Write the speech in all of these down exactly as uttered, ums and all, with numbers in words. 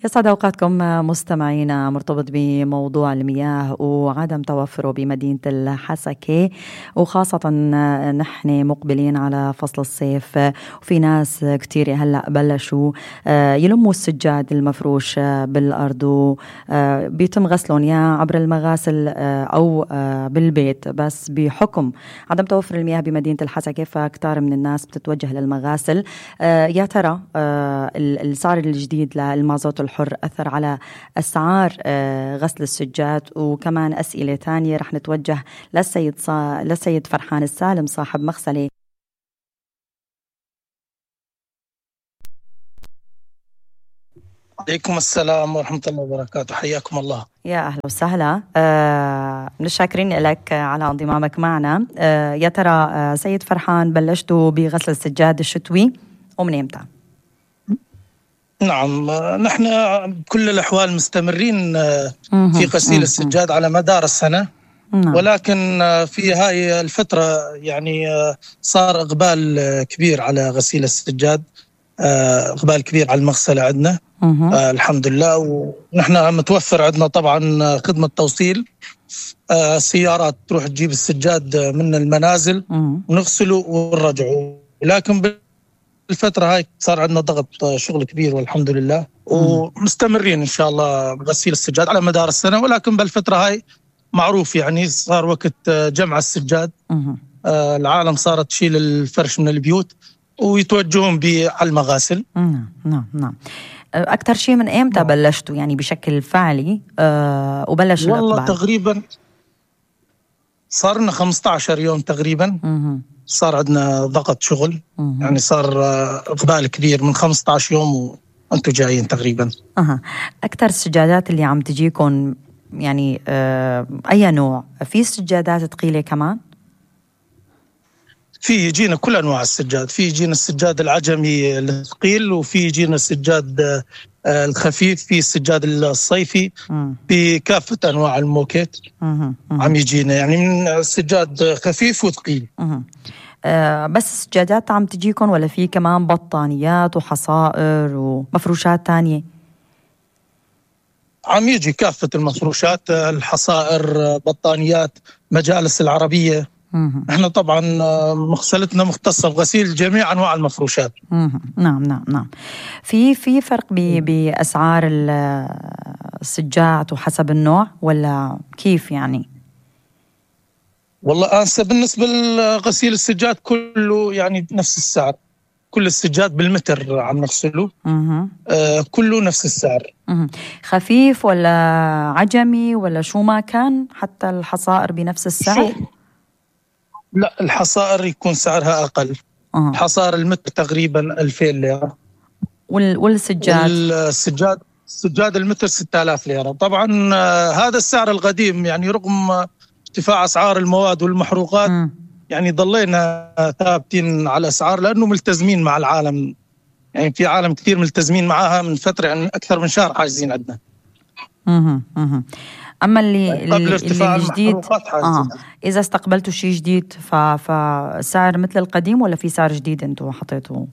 يسعد أوقاتكم مستمعينا. مرتبط بموضوع المياه وعدم توفره بمدينة الحسكة، وخاصة نحن مقبلين على فصل الصيف، وفي ناس كتير هلأ بلشوا يلموا السجاد المفروش بالأرض وبيتم غسلهم يا عبر المغاسل أو بالبيت. بس بحكم عدم توفر المياه بمدينة الحسكة فكتار من الناس بتتوجه للمغاسل. يا ترى السعر الجديد للمازوت الحر أثر على أسعار غسل السجاد؟ وكمان أسئلة تانية رح نتوجه للسيد صا... للسيد فرحان السالم صاحب مغسلة. عليكم السلام ورحمة الله وبركاته، حياكم الله. يا أهلا وسهلا، آه، شاكرين لك على انضمامك معنا. آه، يا ترى آه، سيد فرحان بلشتوا بغسل السجاد الشتوي ومن إمتى؟ نعم، نحن بكل الأحوال مستمرين في غسيل السجاد على مدار السنة. نعم. ولكن في هاي الفترة يعني صار إقبال كبير على غسيل السجاد، إقبال كبير على المغسلة عندنا. آه الحمد لله. ونحن متوفر عندنا طبعا خدمة توصيل، آه سيارات تروح تجيب السجاد من المنازل ونغسله ونرجعه. ولكن الفترة هاي صار عندنا ضغط شغل كبير والحمد لله، ومستمرين إن شاء الله بغسيل السجاد على مدار السنة. ولكن بالفترة هاي معروف يعني صار وقت جمع السجاد، آه العالم صارت تشيل الفرش من البيوت ويتوجهون به على المغاسل. نعم نعم نعم. أكثر شيء من إمتى نعم. بلشتوا يعني بشكل فعلي آه وبلش والله الإقبال؟ تقريبا صار لنا خمسة عشر يوم تقريبا. مم. صار عندنا ضغط شغل. مم. يعني صار إقبال كبير من خمسة عشر يوم وأنتوا جايين تقريبا. أها. أكثر السجادات اللي عم تجيكم يعني آه أي نوع؟ في سجادات ثقيلة كمان؟ في يجينا كل أنواع السجاد، في يجينا السجاد العجمي الثقيل، وفي يجينا السجاد الخفيف، في السجاد الصيفي، في كافة أنواع الموكيت عم يجينا يعني من السجاد خفيف وثقيل. أه بس السجادات عم تجيكم ولا في كمان بطانيات وحصائر ومفروشات تانية؟ عم يجي كافة المفروشات، الحصائر، بطانيات، مجالس العربية. احنا طبعا مغسلتنا مختصة بغسيل جميع انواع المفروشات. نعم نعم نعم. في في فرق باسعار السجاد وحسب النوع ولا كيف يعني؟ والله انسى بالنسبة لغسيل السجاد كله يعني نفس السعر، كل السجاد بالمتر عم نغسله. آه كله نفس السعر. مه. خفيف ولا عجمي ولا شو ما كان، حتى الحصائر بنفس السعر؟ شو؟ لا، الحصائر يكون سعرها أقل. أه. حصائر المتر تقريبا ألفين ليرة. وال... والسجاد؟ السجاد السجاد المتر ستة آلاف ليرة. طبعا آه هذا السعر القديم يعني رغم ارتفاع أسعار المواد والمحروقات. م. يعني ضلينا ثابتين على الأسعار لأنه ملتزمين مع العالم. يعني في عالم كثير ملتزمين معها من فترة يعني أكثر من شهر حاجزين عندنا. اها اها. أما اللي قبل اللي ارتفاع الجديد آه. إذا استقبلتوا شيء جديد ف... فسعر مثل القديم ولا في سعر جديد أنتوا حطيتوه؟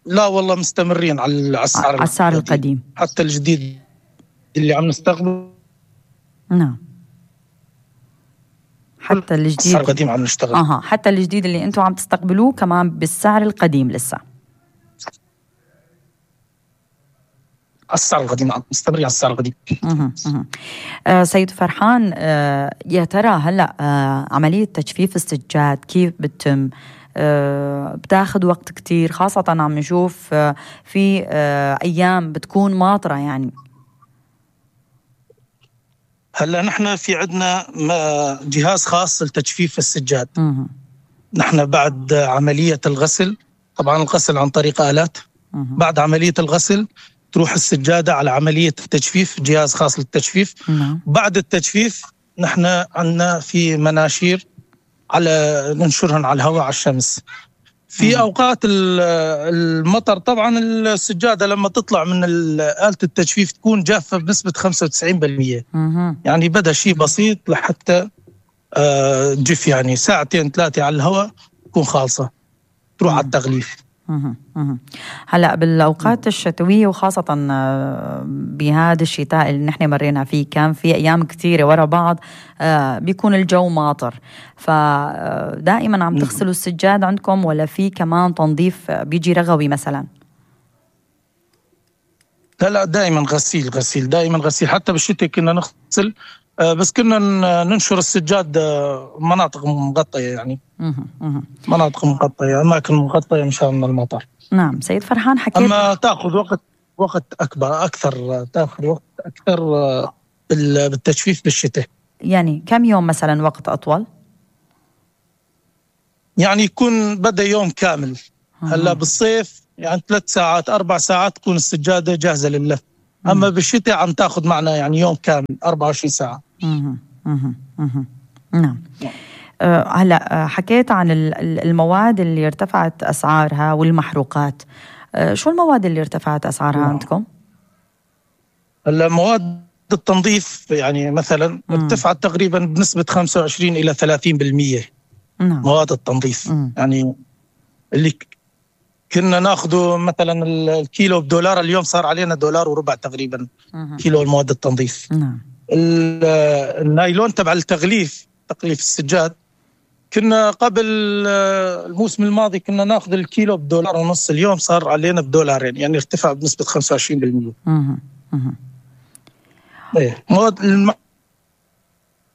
لا والله مستمرين على السعر على السعر القديم حتى الجديد اللي عم نستقبل. نعم، حتى الجديد السعر القديم عم نشتغل. أها حتى الجديد اللي أنتوا عم تستقبلوه كمان بالسعر القديم لسه؟ السعر القديم عم نستمر على السعر القديم. اها اها. آه سيد فرحان، آه يا ترى هلا آه عملية تجفيف السجاد كيف بتتم؟ آه بتاخذ وقت كتير، خاصة عم نشوف آه في آه أيام بتكون ماطرة يعني. هلا نحن في عندنا جهاز خاص لتجفيف السجاد. مه. نحن بعد عملية الغسل، طبعا الغسل عن طريق آلات. مه. بعد عملية الغسل تروح السجادة على عملية التجفيف، جهاز خاص للتجفيف. مه. بعد التجفيف نحن عندنا في مناشير على ننشرهن على الهواء على الشمس. في مه. أوقات المطر طبعا السجادة لما تطلع من آلة التجفيف تكون جافة بنسبة خمسة وتسعين بالمئة. مه. يعني بدأ شيء بسيط لحتى جف يعني ساعتين ثلاثة على الهواء تكون خالصة تروح مه. على التغليف. هلا بالاوقات الشتويه وخاصه بهذا الشتاء اللي نحن مرينا فيه كان في ايام كثيره ورا بعض بيكون الجو ماطر، فدائما عم تغسلوا السجاد عندكم ولا في كمان تنظيف بيجي رغوي مثلا؟ لا لا دائما غسيل غسيل دائما غسيل، حتى بالشتاء كنا نغسل بس كنا ننشر السجاد مناطق مغطية، يعني مناطق مغطية، أماكن مغطية مشان المطر. نعم سيد فرحان حكيت أما تأخذ وقت وقت أكبر أكثر تأخذ وقت أكثر بالتجفيف بالشتاء. يعني كم يوم مثلا وقت أطول؟ يعني يكون بدأ يوم كامل. هلا بالصيف يعني ثلاث ساعات أربع ساعات تكون السجادة جاهزة لللف. أما بالشتاء عم تأخذ معنا يعني يوم كامل أربعة وعشرين ساعة. مه. مه. مه. نعم. أه هلا حكيت عن المواد اللي ارتفعت أسعارها والمحروقات. أه شو المواد اللي ارتفعت أسعارها نعم. عندكم؟ هلا مواد التنظيف يعني مثلا ارتفعت تقريبا بنسبة خمسة وعشرين إلى ثلاثين بالمية. نعم. مواد التنظيف مم. يعني اللي كنا ناخده مثلا الكيلو بدولار اليوم صار علينا دولار وربع تقريبا مم. كيلو المواد التنظيف. نعم. النايلون تبع التغليف تغليف السجاد كنا قبل الموسم الماضي كنا ناخذ الكيلو بدولار ونص، اليوم صار علينا بدولارين، يعني ارتفع بنسبة خمسة وعشرين بالمية. امم امم ايه مواد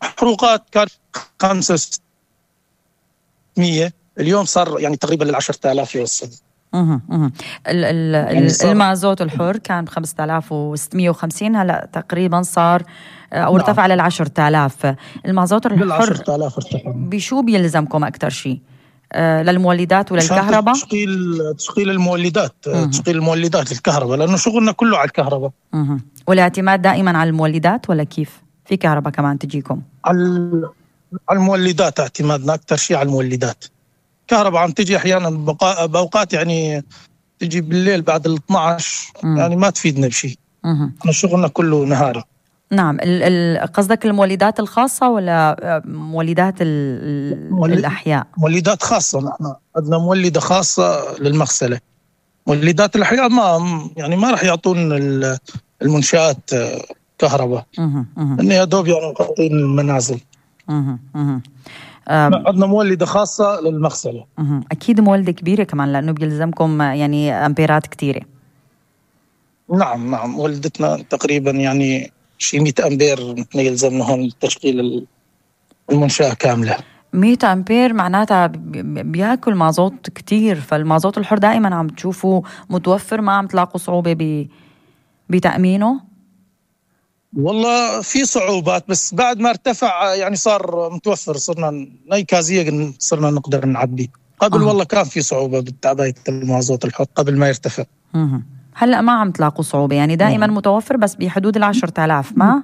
المحروقات كان خمسة وستمية، اليوم صار يعني تقريبا للعشرة آلاف يوصل. اها اها يعني المازوت الحر كان ب خمسة آلاف وستمية وخمسين، هلا تقريبا صار او ارتفع نعم. للعشرة آلاف. المازوت الحر بشو بيلزمكم اكثر شيء؟ آه للمولدات وللكهرباء؟ تشغيل تشغيل المولدات مه. تشغيل المولدات الكهرباء، لانه شغلنا كله على الكهرباء. اها والاعتماد دائما على المولدات ولا كيف؟ في كهرباء كمان تجيكم؟ على على المولدات، اعتمادنا اكثر شيء على المولدات. كهرباء عم تجي احيانا باوقات يعني تجي بالليل بعد ال اثني عشر مم. يعني ما تفيدنا بشيء. احنا شغلنا كله نهاري. نعم. قصدك المولدات الخاصة ولا مولدات مولد... الأحياء؟ مولدات خاصة، نحن عندنا مولدة خاصة للمغسلة. مولدات الأحياء ما يعني ما راح يعطون المنشآت كهرباء، إنه يا دوب يعني مغطين المنازل. اها اها عندنا مولدة خاصة للمغسلة. أكيد مولدة كبيرة كمان لأنه بيلزمكم يعني أمبيرات كتيرة. نعم نعم مولدتنا تقريبا يعني شي مئة أمبير يلزمنا هون تشغيل المنشأة كاملة. مئة أمبير معناتها بياكل مازوت كتير، فالمازوت الحر دائما عم تشوفوا متوفر، ما عم تلاقوا صعوبة بتأمينه؟ والله في صعوبات بس بعد ما ارتفع يعني صار متوفر، صرنا نيكازية صرنا نقدر نعبي. قبل آه. والله كان في صعوبة بالتعبئة المازوت الحر قبل ما يرتفع. مه. هلأ ما عم تلاقوا صعوبة يعني دائما مه. متوفر بس بحدود العشرة آلاف ما؟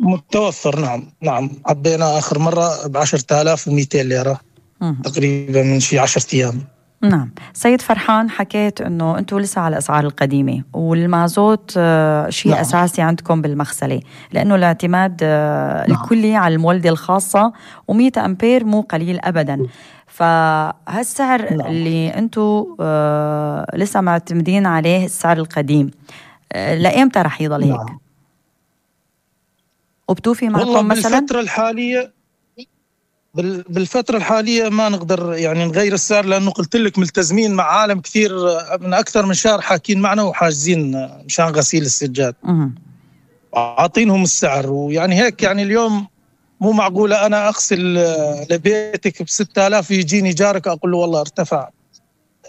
متوفر نعم نعم عبينا آخر مرة بعشرة آلاف ومئتين ليرة مه. تقريبا من شي عشرة أيام. نعم. سيد فرحان حكيت أنه أنتوا لسه على الأسعار القديمة والمازوت شيء نعم. أساسي عندكم بالمغسلة، لأنه الاعتماد نعم. الكلي على المولدة الخاصة ومئة أمبير مو قليل أبدا. فهالسعر نعم. اللي أنتوا لسه معتمدين عليه السعر القديم لأيمتى رح يضل هيك؟ نعم. وبتوفي معكم مثلا؟ بالفترة الحالية بالفترة الحالية ما نقدر يعني نغير السعر، لأنه قلت لك ملتزمين مع عالم كثير من أكثر من شهر حاكين معنا وحاجزين مشان غسيل السجاد عاطينهم السعر. ويعني هيك يعني اليوم مو معقولة أنا أغسل لبيتك بستة آلاف يجيني جارك أقول له والله ارتفع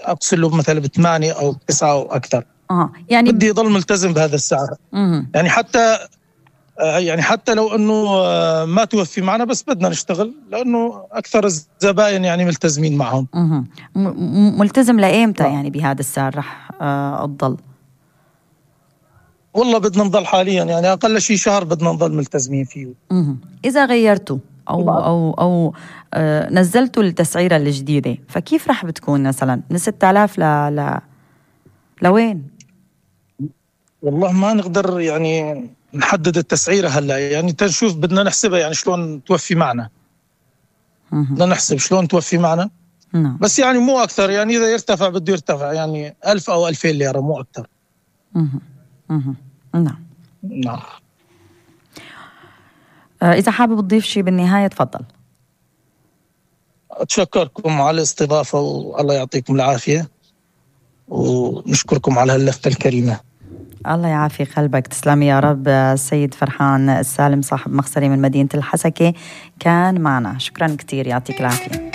أغسل له مثلا بثمانية أو تسعة أو أكثر. آه. يعني بدي يضل ملتزم بهذا السعر. مه. يعني حتى يعني حتى لو أنه ما توفي معنا بس بدنا نشتغل، لأنه أكثر الزبائن يعني ملتزمين معهم. م- ملتزم لأيمتى يعني بهذا السعر رح أضل؟ والله بدنا نضل حاليا يعني أقل شيء شهر بدنا نضل ملتزمين فيه. م- إذا غيرتوا أو أو أو آه نزلتوا التسعيرة الجديدة فكيف رح بتكون مثلا من ستة آلاف ل ل لوين؟ والله ما نقدر يعني نحدد التسعيرة هلا، يعني تنشوف بدنا نحسبها يعني شلون توفي معنا. بدنا نحسب شلون توفي معنا نعم. بس يعني مو أكثر، يعني إذا يرتفع بده يرتفع يعني ألف أو ألفين ليرة، مو أكثر. مه. مه. نعم نعم. إذا حابب تضيف شيء بالنهاية تفضل. أتشكركم على الاستضافة والله يعطيكم العافية، ونشكركم على هاللفتة الكريمة. الله يعافي قلبك، تسلمي يا رب. السيد فرحان السالم صاحب مغسلة من مدينة الحسكة كان معنا، شكرا كتير، يعطيك العافية.